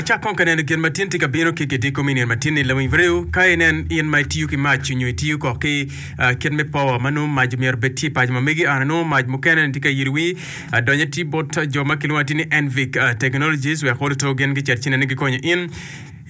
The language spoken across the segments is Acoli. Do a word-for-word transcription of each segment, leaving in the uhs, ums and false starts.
Wacak kong ka neno gin ma tin tye ka bino ki kidiko me nino ma tin-ni lawiny redio ka inen in ma itiyo ki mac nyo itiyo kok ki uh, kit me power ma nongo mac myero obed tye i paco ma megi an anongo mac mukene ni tye ka yiro wi adonyo tye bot jo ma kilwongo atir ni Envic uh, Technologies wek oluto gin gicit ci nene gikonyo in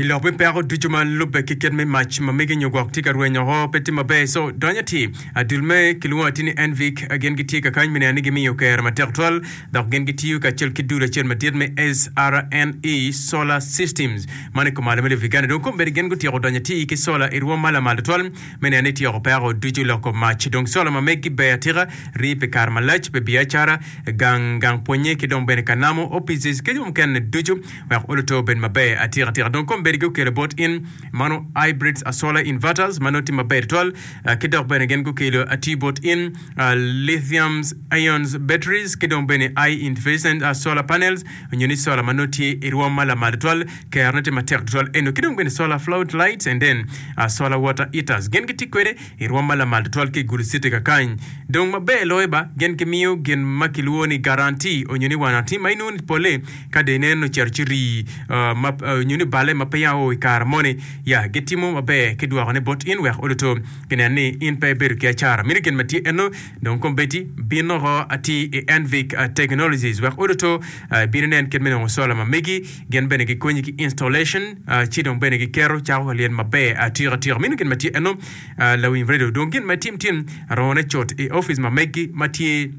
i lok me peko ducu ma lubbe ki kit me mac ma megi nyo gwok tye ka rwenyo oko pe tye maber so donyo atir adul me kilwongo atir ni Envic gin gitye ka kany me neno ni gimiyo kero matek twal dok gin gitiyo kacel ki dul acel madit me SRNE Solar Systems man i kumalo me lobo Uganda dong kombeddi gin gutyeko donyo atir ki sola i rwom ma lamal twal me neno ni tyeko peko ducu loko mac dong sola ma megi ber atika rii pi kare malac pi biacara gang gang pwonye ki dong bene kanamo offices ki jo mukene ducu wek oluto obed maber atika atika dong kombeddi gukelo bot in mano hybrids a solar inverters ma nongo tye maber twal uh, ki dok bene gin gukelo atir bot in uh, lithium ions batteries ki dong bene i inefficient uh, solar panels nyo ni solar ma nongo tye i rwom ma lamal twal kerone tye matek twal eno ki dong bene solar flood lights and then uh, solar water heaters gin gitye kwede i rwom ma lamal twal ki i Gulu City kakany dong maber loyo ba gin gimiyo gin ma kilwongo ni guarantee onyo ni warranty ma inongo ni pole ka dong ineno ocito ci rii uh, ma, uh, nyo ni bale ma pe ya o i kare moni ya gitimo maber ki dwokone bot in wek oluto ginen ni in pe ibedo ki acara mino gin ma tye eno dong kombeddi bin oko atir i Envic uh, Technologies wek oluto uh, bino nen kit me nongo sola ma megi gin bene gikonyi ki installation uh, ci dong bene giketo cako ka lyel maber atika atika mino gin ma tye eno uh, lawiny radio dong gin ma tim tim arone cut i office ma megi ma tye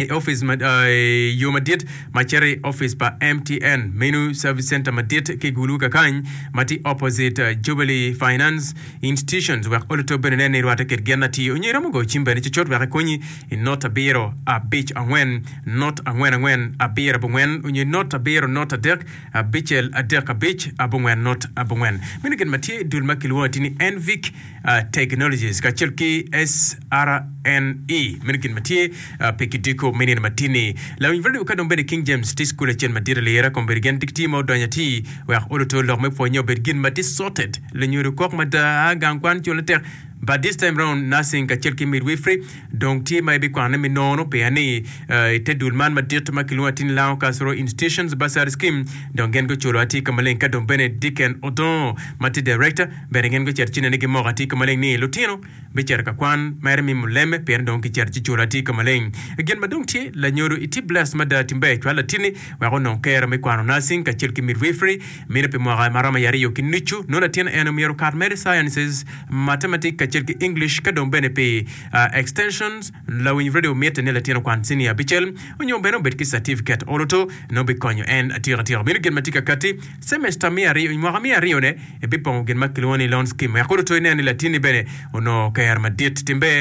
i office ma uh, yo madit ma cito i office pa MTN menu service center madit ki Gulu kakany ma tye opposite uh, Jubilee Finance Institutions wek oluto bene nen ni rwate kit gin atir onyo iromo goyo cim bene cucut wek ikonyi i not abiro abic angwen not angwen angwen abiro abongwen onyo not abiro not adek abicel adek abic abongwen not abongwen meno gin ma tye i dul ma kilwongo atir ni Envic uh, Technologies kacel ki SRNE meno gin ma tye uh, pi kidiko me nino matini lawiny radio ka dong bene King James tye school acel madit alira kombeddi gin tye ma odonyo atir wek oluto lok me pwonye obed gin ma tye sorted lunyodo kok mada gang kwan culo tek but this time round nursing kacel ki midwifery dong tye ma ibikwane me nono pia ni uh, i te dul man madit ma kilwongo atir ni Lango Cultural Institutions Bursary Scheme dong gin guculo atir ka maleng ka dong bene Dicken Odongo ma tye director bene gin gucito ci nene gimoko atir ka maleng ni lutino bicito ka kwan mere mi muleme pien dong kicito ci culo atir ka maleng gin ma dong tye lanyodo itye blessed mada timbe cwal latini wek onong kero me kwano nursing kacel ki midwifery mino pi mwaka maromo i aryo ki nucu nongo latin en omyero okat mere sciences mathematics kacel ki English ka dong bene pi uh, extensions lawiny radio mitte ni latin okwan senior abicel onyo bene obed ki certificate oluto nongo bikonyo en atika atika mino gin ma tye ka kati semester me aryo mwaka me aryo ne ibipongo gin ma kilwongo ni loan scheme wek oluto inen ni latini bene onongo ker madit timbe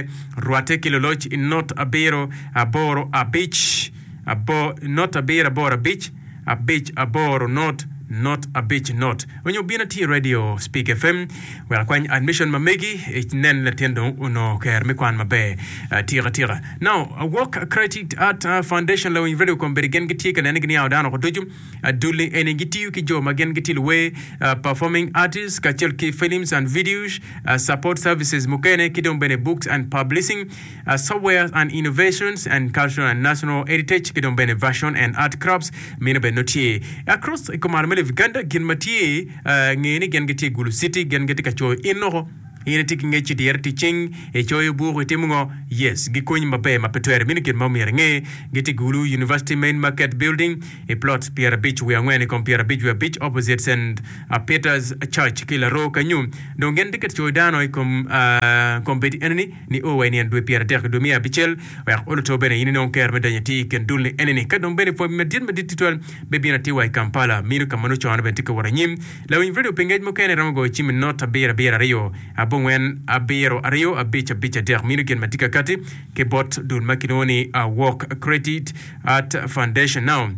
rwate ki loloc i not abiro aboro abic abo not abiro aboro abic abic aboro not not abic not onyo bino tye radio speak fm wek akwany admission ma megi inen latin dong onongo ker me kwan maber atika atika now Awok Creative Art uh, Foundation lawiny radio kombeddi gin gitye ka nene giniawo dano oko ducu aduli eni gitiyo ki jo ma gin gitye luwer uh, performing artists kacel ki films and videos uh, support services mukene ki dong bene books and publishing uh, software and innovations and cultural and national heritage ki dong bene version and art crafts mino bene no tye across i kumalo me Uganda gin ma tye uh, nge ni gin gitye i Gulu City gin gitye ka coyo in oko in itye ki ngec i dyere tic cing icoyo buk itimo ngo yes gikonyi maber ma pe twere mino gin ma omyero inge gitye Gulu University Main Market Building i plot pyerabic wiye angwen i kom pyerabic wiye abic opposite St Peter's Church ki laro kanyu dong gin tye ka coyo dano i kom uh, kombeddi enini ni o wa i nino dwe pyeradek dwe me abicel wek oluto bene in inong ker me donyo atir i kin dul ni enini ka dong bene pwony madit madit tutwal bibino atir wa i Kampala mino ka ma nongo cone bene tye ka wot anyim lawiny radio pi ngec mukene romo goyo cim i not abiro abiro aryo abongwen abiro aryo abic abic adek mino gin ma tye ka kati ki bot dul ma kilwongo ni Awok Creative Art Foundation now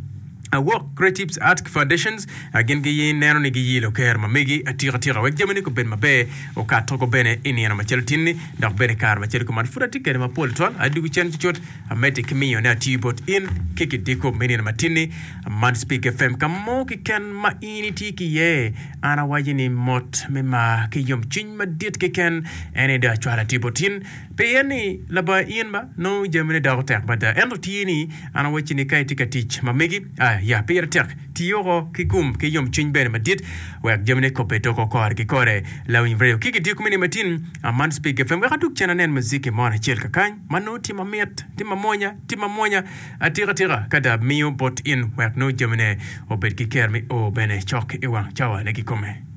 Awok Creative Art Foundations gin giye neno ni giyilo ker ma megi atika atika wek jamini obed maber okato ko bene i nino macalo tinni dok bene kare macalo kuman pud atye kede mapol twal adugu cen cucut amedde ki miyone atiyo bot in ki kidiko me nino matinni man Speak FM ka mo keken ma in itye ki iye an awaco ni mot me mar ki yomcwiny madit keken en aye dong acwalo atiyo bot in Pien ni labongo in ba nongo jamine doko tek mada. Ento tye ni an awacci ni ka itye ka tic ma megi, aya pire tek ti woko ki gum ki yomcwiny bene madit wek jamine kobbe doko kore ki kore. Lawiny Radio ki gidiko mini matin aman Speak FM wek adug cen anen muziki mo acel kakany ma nongo tye mamit, tye mamwonya, tye mamwonya atika tika ka da miyo bot in wek nongo jamine obed ki ker me o bene cok i wang cawa ne kikome.